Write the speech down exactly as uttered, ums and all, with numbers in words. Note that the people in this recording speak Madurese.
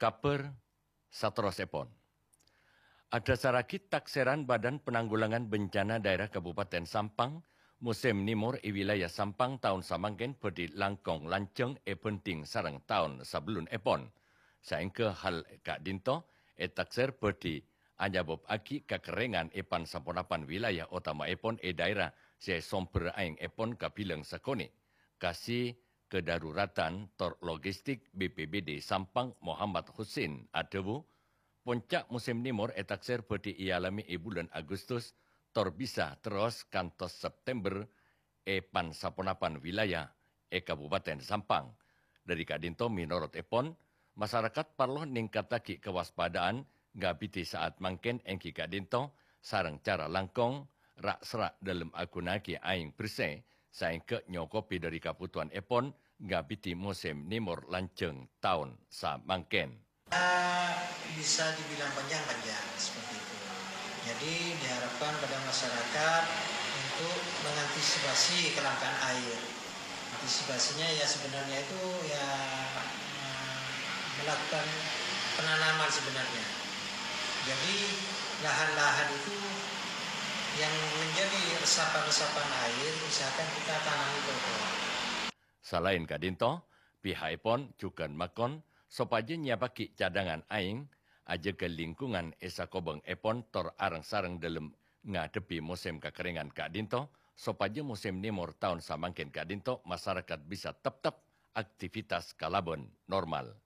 Kabhâr saterrossèpon. Adhâsarraghi taksèran Badan Penanggulangan Bencana Daerah Kabupaten Sampang, mosèm nèmor è wilayah Sampang taon samangkèn bhâdhi langkong lanjhâng èbhânḍhing sareng taon sabellunèpon. Saèngghâ hal ka'ḍinto ètaksèr bhâdhi anyabâbbhâghi kakerrèngan è pan-saponapan wilayah, otamaèpon è daerah sè sombher aèngèpon kabilang sakonè'. Kasi Kedaruratan tor Logistik B P B D Sampang Muhammad Husin adhâbu, ponca' mosèm nèmor ètaksèr bhâdhi èalamè è bulân Agustus tor bisa terros kantos September è pan-saponapan wilayah è Kabupaten Sampang. Ḍâri ka'ḍinto mènorotèpon, masarakat parlo nèngkattaghi kawaspadaan ngabidhi sa'at mangkèn èngghi ka'ḍinto sareng cara langkong, ra'-sera' ḍâlem aghunaaghi aèng bersè saèngghâ nyokobhi ḍâri kabhutowanèpon ngabidhi mosèm nèmor lanjhâng taon samangkèn. Bisa dibilang panjang-panjang seperti itu. Jadi diharapkan pada masyarakat untuk mengantisipasi kelangkaan air. Antisipasinya ya sebenarnya itu ya eh, melakukan penanaman sebenarnya. Jadi lahan-lahan itu yang menjadi resapan-resapan air misalkan kita tanami pohon. Salaèn ka'ḍinto, piha'èpon jhughân makon sopajâ nyèyapaghi caḍângan aèng, ajâgâ lingkungan è sakobhângèpon tor areng-sareng ḍâlem ngaḍhebbhi mosèm kakerrèngan ka'ḍinto, sopajâ mosèm nèmor taon samangkèn ka'ḍinto masarakat bisa teptep aktivitas kalabân normal.